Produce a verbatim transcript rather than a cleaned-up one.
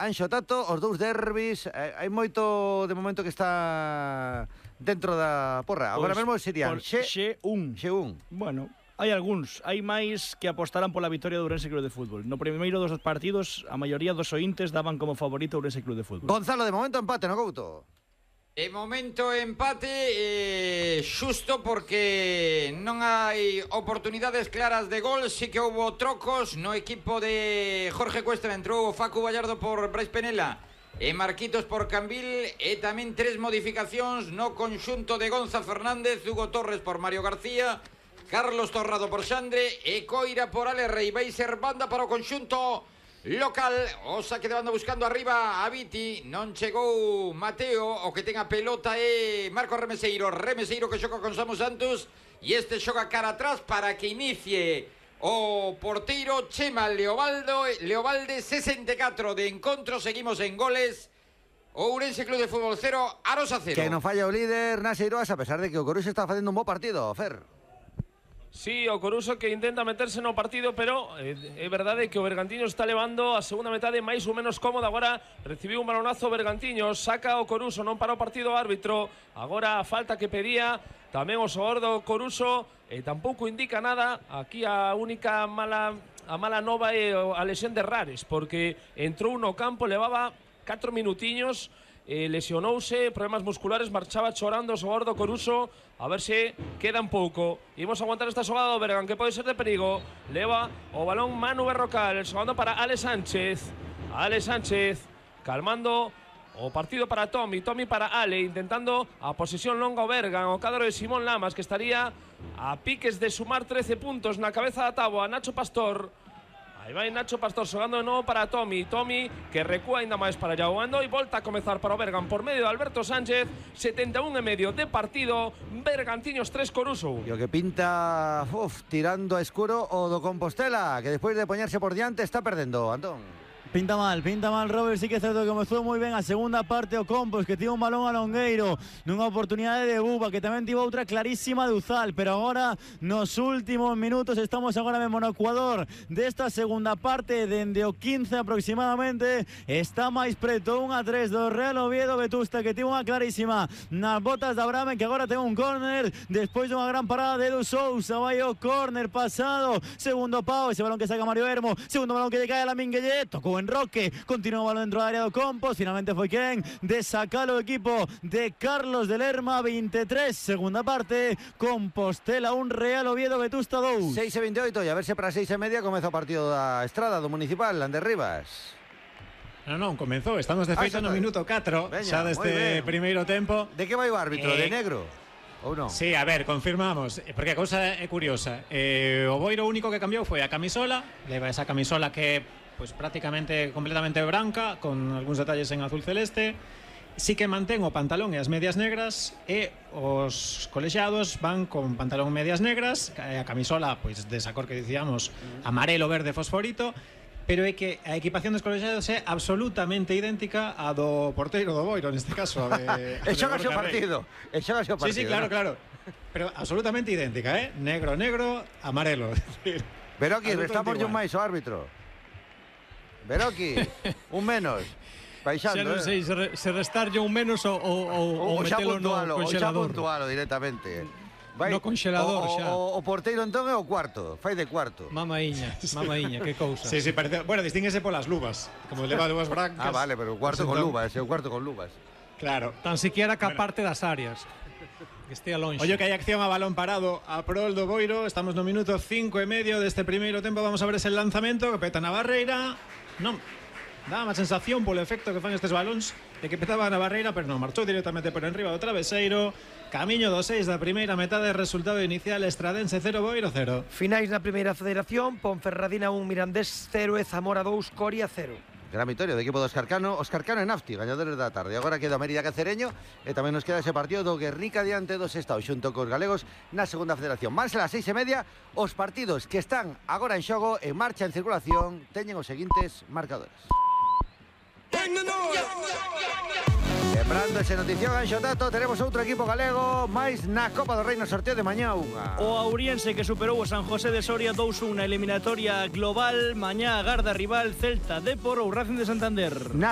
Anxo Tato, os dous derbis, eh, hai moito de momento que está dentro da porra. Agora Pois, mesmo serían Xe Xe un. Xe un. Bueno, hai algúns, hai máis que apostarán pola victoria do Ourense Club de Fútbol. No primeiro dos partidos, a maioría dos ointes daban como favorito o Ourense Club de Fútbol. Gonzalo, de momento empate, no Couto? De momento empate eh, xusto porque non hai oportunidades claras de gol. Sí que houbo trocos no equipo de Jorge Cuesta. Entrou Facu Vallardo por Brais Penela e Marquitos por Cambil, e tamén tres modificacións no conxunto de Gonza Fernández, Hugo Torres por Mario García, Carlos Torrado por Xandre e Coira por Ale Rei. Vai ser banda para o conxunto local. O saque de banda buscando arriba a Viti. Non chegou Mateo. O que ten a pelota é Marco Remeseiro. Remeseiro que xoga con Samu Santos, e este xoga cara atrás para que inicie o porteiro Chema Leobaldo. Leobalde, sesenta e catro de encontro. Seguimos en goles. Ourense Club de Fútbol cero, Arosa cero. Que non falla o líder Nas Eiroas, a pesar de que o Coruxo está facendo un bo partido, Fer. Sí, o Coruso que intenta meterse no partido, pero é eh, verdade que o Bergantiños está levando a segunda metade máis ou menos cómoda. Agora recibiu un balonazo o Bergantiños, saca o Coruso, non para o partido o árbitro. Agora a falta que pedía tamén o xogador do Coruso, e eh, tampouco indica nada. Aquí a única mala a mala nova é a lesión de Rares, porque entrou no campo, levaba catro minutiños, eh, lesionouse, problemas musculares, marchaba chorando o xogador do Coruso. A ver se queda un pouco. Imos aguantar esta xogada do Bergan, que pode ser de perigo. Leva o balón Manu Berrocal, xogando para Ale Sánchez. Ale Sánchez calmando o partido para Tommy. Tommy para Ale, intentando a posesión longa o Bergan. O cadro de Simón Lamas, que estaría a piques de sumar trece puntos na cabeza da táboa. Nacho Pastor. Aí vai Nacho Pastor xogando de novo para Tommy. Tommy que recúa ainda máis para Yaoando, e volta a comezar para o Bergan por medio de Alberto Sánchez. setenta e un e medio de partido. Bergantiños tres, Coruso. E o que pinta uf, tirando a escuro o do Compostela, que despois de poñerse por diante está perdendo, Antón. Pinta mal, pinta mal, Robert. Sí que é certo que comezou moi ben a segunda parte o Compos, que tivo un balón a Longueiro nunha oportunidade de Buba, que tamén tivo outra clarísima de Uzal, pero agora nos últimos minutos estamos agora mesmo no Ecuador desta segunda parte, dende o quince aproximadamente. Está máis preto un a tres do Real Oviedo. Vetusta, que tivo unha clarísima nas botas de Abraham, que agora ten un córner despois dunha gran parada de Edu Sousa. Vai o córner pasado, segundo pau, ese balón que saca Mario Hermo, segundo balón que lle cae a Lamin Guillet, tocou en Roque, continúa o balón dentro da área do Compos. Finalmente foi quen de sacar o equipo de Carlos de Lerma. veintitrés, segunda parte, Compostela un, Real Oviedo Vetusta dous. seis e veintioito, e a ver se para seis e media comeza o partido da Estrada, do Municipal, Ander Rivas. Non, non, comenzou, estamos de feito ah, no minuto catro, Veña, xa deste primeiro tempo. De que vai o árbitro? Eh... De negro? Ou non? Sí, a ver, confirmamos, porque a cousa é curiosa. Eh, o Boiro único que cambiou foi a camisola, leva esa camisola que pues prácticamente completamente branca, con algúns detalles en azul celeste. Sí que mantén o pantalón e as medias negras, e os colexiados van con pantalón e medias negras, a camisola pois desa cor que dicíamos, amarelo, verde, fosforito. Pero é que a equipación dos colexiados é absolutamente idéntica a do porteiro do Boiro, neste caso. De, e xoga o partido. E xoga o partido. Sí, sí, claro, ¿no? Claro. Pero absolutamente idéntica, ¿eh? Negro, negro, amarelo. Pero aquí, restamos un máis o árbitro. Veroki, un menos. Baixando, xa non sei, eh. se restarlle un menos ou, ou, ou metelo no congelador. Ou xa puntualo directamente. Vai, no congelador o, xa. O, o porteiro entón é o cuarto, fai de cuarto. Mamaíña, mamaíña, que cousa. Sí, sí, parece, bueno, distínguese polas luvas, como leva luvas brancas. Ah, vale, pero o cuarto con luvas, é o cuarto con luvas. Claro. Tan siquiera que a parte das áreas. Que estea longe. Ollo que hai acción a balón parado a prol do Boiro. Estamos no minuto cinco e medio deste primeiro tempo. Vamos a ver ese lanzamento que peta na barreira. Non, dá má sensación polo efecto que fan estes balóns de que petaba na barreira, pero non, marchou directamente por enriba do traveseiro. Camiño do seis da primeira metade, resultado inicial Estradense cero, Boiro cero. Finais na primeira federación, Ponferradina un, Mirandés cero e Zamora dous, Coria cero. Gran victoria do equipo do Óscar Cano. Óscar Cano e Nafti, gañadores da tarde. Agora queda Mérida Cacereño, e tamén nos queda ese partido do Guernica diante do Sestao, xunto cos galegos na segunda federación. Máis a las seis e media, os partidos que están agora en xogo, en marcha, en circulación, teñen os seguintes marcadores. Lembrando ese notición, Anxo Tato, tenemos outro equipo galego máis na Copa do Rei no sorteo de mañá unha. O Auriense, que superou o San José de Soria dous a un na eliminatoria global. Mañá agarda rival Celta, Depor ou Racing de Santander. Na